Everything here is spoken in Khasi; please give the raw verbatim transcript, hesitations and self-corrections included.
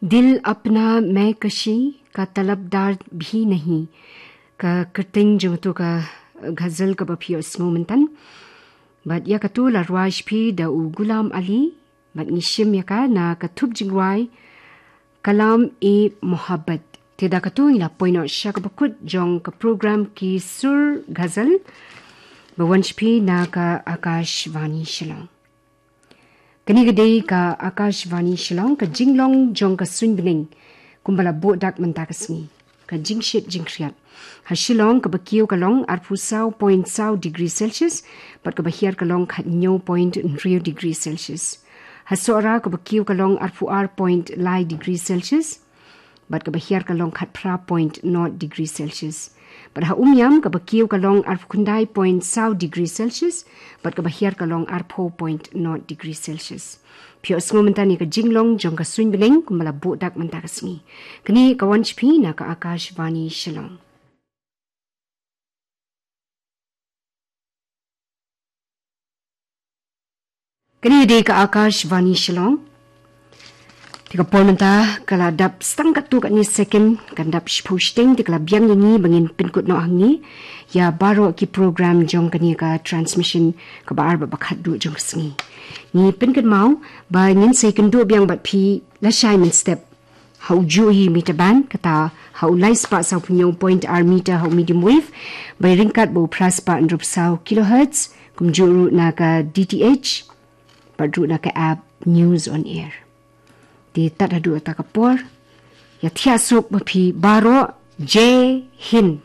Dil apna main kashi ka talabdar bhi nahi, ka kyrteng jong tu ka ghazal kaba phi ïohsngew myntan. Bad ïa katu la rwai sha phi da u Ghulam Ali, bad ngi shim ïa ka na ka thup jingrwai Kalam-e-Mohabbat. Te da katu ngi la poi noh sha kaba kut jong ka program Ki Sur Ghazal, ba wan sha phi na ka Akashvani Shillong. Kane ka dei ka Akashvani Shillong, ka jinglong jong ka suiñ bneng kumba la buh dak mynta ka sngi. Ka jingshit jingkhriat. Ha Shillong kaba kiew ka long arphew saw point saw degree Celsius, bad kaba hiar ka long khathynñiew point hynriew degree Celsius. Ha Sohra kaba kiew ka long arphew ar point lai degree Celsius, bad kaba hiar ka long khatphra point nod degree Celsius. Bad ha Umiam kaba kiew ka long arphew khyndai point saw degree Celsius, bad kaba hiar ka long arphew point nod degree Celsius. Phi ïohsngew mynta ïa ka jinglong jong ka suiñ bneng kumba la buh dak mynta ka sngi. Kane ka wan sha phi na ka Akashvani Shillong. Kane dei ka Akashvani Shillong. Te ka por mynta ka la dap stang katto katne second, kan dap shiphew shiteng, te ka la biang ïa ngi ba ngin pynkut noh hangne ïa baroh ki program jong kane ka transmission kaba ar bad ba khatduh jong ka sngi. Ngi pynkynmaw ba ngin sa ïakynduh biang bad phi lashai mynstep ha u juh hi meter band, kata ha u lai spah saw phew hynñiew point ar meter ha u medium wave, ba ryngkat bad u phra spah hynriewphew saw kilohertz, kumjuh ruh na ka D T H, bad ruh na ka app News on Air. Te tad haduh kata ka por, ïa thiah suk ba phi baroh, Jai Hind.